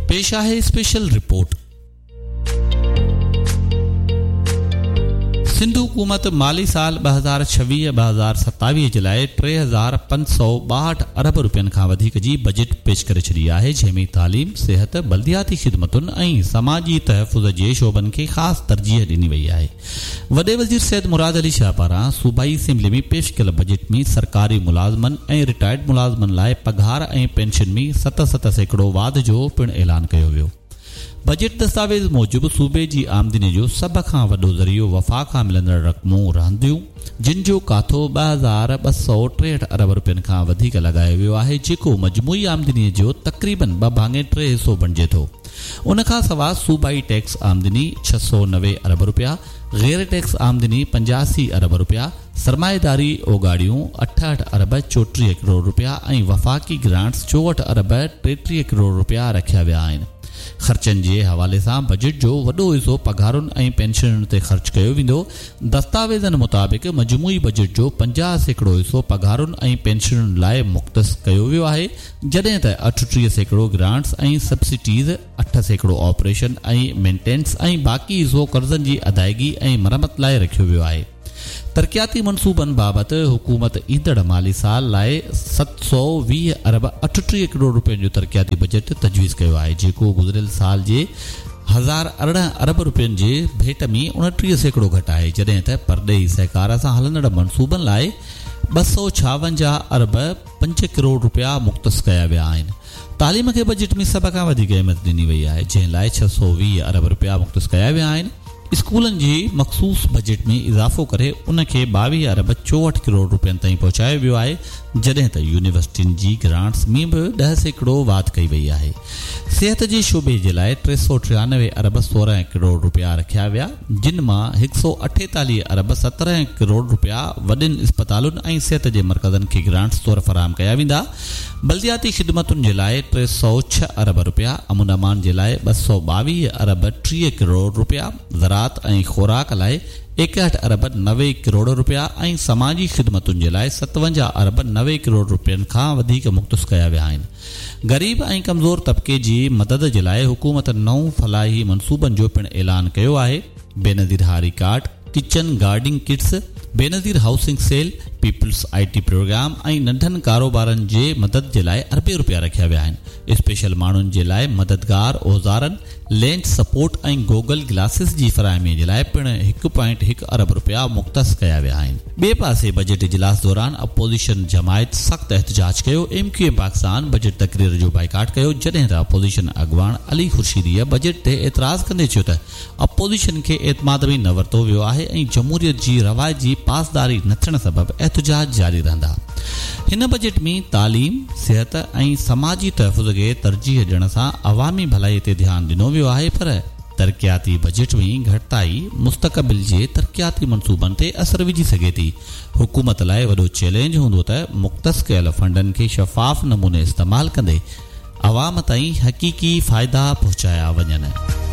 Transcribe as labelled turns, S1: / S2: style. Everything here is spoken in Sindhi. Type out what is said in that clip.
S1: پيش آهي اسپيشل رپورٽ. سنڌ حڪومت مالي سال 2026 2027 جي لاء 3562 ارب رپين کان وڌيڪ جي بجيٽ پيش ڪري ڇڏي آهي، جنهن ۾ تعليم، صحت، بلدياتي خدمتن ۽ سماجي تحفظ جي شعبن کي خاص ترجيح ڏني وئي آهي. وڏي وزير سيد مراد علي شاهه پاران صوبائي اسيمبلي ۾ پيش ڪيل بجيٽ ۾ سرڪاري ملازمن ۽ رٽائرڊ ملازمن لاء پگهار ۽ پينشن ۾ 7 7% واڌ جو پڻ اعلان ڪيو ويو. بجيٽ دستاويز موجب صوبي جي آمدني جو سڀ کان وڏو ذريعو وفاق کان ملندڙ رقمون رهنديون، جن جو ڪاٿو 2263 ارب رپين کان وڌيڪ لڳايو ويو آهي، جيڪو مجموعي آمدني جو تقريبن ٻه ڀاڱي ٽي حصو بڻجي ٿو. ان کان سواء صوبائي ٽيڪس آمدني 690 ارب رپيا، غير ٽيڪس آمدني 85 ارب رپيا، سرمائيداري اوڳاڙيون 68 ارب 34 ڪروڙ رپيا ۽ وفاقي گرانٽس 64 ارب 33 ڪروڙ رپيا رکيا ويا آهن. خرچن جي حوالي سان بجيٽ جو وڏو حصو پگهارن ۽ پينشنن تي خرچ ڪيو ويندو. دستاويزن مطابق مجموعي بجيٽ جو 50% حصو پگهارن ۽ پينشنن لاء مختص ڪيو ويو آهي، جڏهن ته 38% گرانٽس ۽ سبسڊيز، 8% آپريشن ۽ مينٽيننس ۽ باقي حصو قرضن جي ادائيگي ۽ مرمت لاء رکيو ويو آهي. ترقياتي منصوبن بابت حڪومت ايندڙ مالي سال لاء 720 ارب 38 ڪروڙ رپين جو ترقياتي بجيٽ تجويز ڪيو آهي، جيڪو گذريل سال جي 1018 ارب رپين جي ڀيٽ ۾ 29% گهٽ آهي، جڏهن ته پرڏيهي سهڪار سان هلندڙ منصوبن لاء 256 ارب 5 ڪروڙ رپيا مختص ڪيا ويا آهن. تعليم کي بجيٽ ۾ سڀ کان وڌيڪ اهميت ڏني وئي آهي، جنهن لاء 620 ارب رپيا مختص ڪيا ويا آهن. اسڪولن جي مخصوص بجيٽ ۾ اضافو ڪري ان کي 22 ارب 64 ڪروڙ رپين تائين پهچايو ويو آهي، جڏهن ته يونيورسٽين جي گرانٽس ۾ به 10% واڌ ڪئي وئي آهي. صحت جي شعبي جي لاء 393 ارب 16 ڪروڙ رپيا رکيا ويا، جن مان 148 ارب 17 ڪروڙ رپيا وڏين اسپتالن ۽ صحت جي مرڪزن کي گرانٽس طور فراهم ڪيا ويندا. بلدياتي خدمتن جي لاء 306 ارب رپيا، امن امان جي لاء 222 ارب 30 ڪروڙ رپيا، زراعت ۽ خوراڪ لاء 61 ارب 90 ڪروڙ رپيا ۽ سماجي خدمتن جي لاء 57 ارب 90 ڪروڙ رپين کان وڌيڪ مختص ڪيا ويا آهن. غريب ۽ ڪمزور طبقي جي مدد جي لاء حڪومت نون فلاحي منصوبن جو پڻ اعلان ڪيو آهي. بينظير هاري card, kitchen gardening kits, Benazir housing cell, peoples I T programme ۽ ننڍن ڪاروبارن جي مدد جي لاء اربين رپيا رکيا ويا آهن. اسپيشل ماڻهن جي لاء مددگار اوزارن، لينز سپورٽ ۽ گوگل گلاسز جي فراهمي جي لاء پڻ هڪ پوائنٽ هڪ ارب رپيا مختص ڪيا ويا آهن. ٻئي پاسي بجيٽ اجلاس دوران اپوزيشن جماعت سخت احتجاج ڪيو، M Q M Pakistan budget تقرير جو بائيڪاٽ ڪيو، جڏهن ته اپوزيشن اڳواڻ علي خورشيديء بجيٽ تي اعتراض ڪندي چيو ته اپوزيشن کي اعتماد ۾ نه ورتو ويو آهي ۽ جمهوريت جي روايت جي پاسداري نه ٿيڻ سبب احتجاج جاري رهندا. هن بجيٽ ۾ تعليم، صحت ۽ سماجي تحفظ کي ترجيح ڏيڻ سان عوامي ڀلائي تي ڌيان ڏنو ويو آهي پر ترقياتي بجيٽ ۾ گهٽتائي مستقبل جي ترقياتي منصوبن تي اثر وجهي سگهي ٿي. حڪومت لاء وڏو چئلينج هوندو ته مختص ڪيل فنڊن کي شفاف نموني استعمال ڪندي عوام تائين حقيقي فائدا پهچايا وڃن.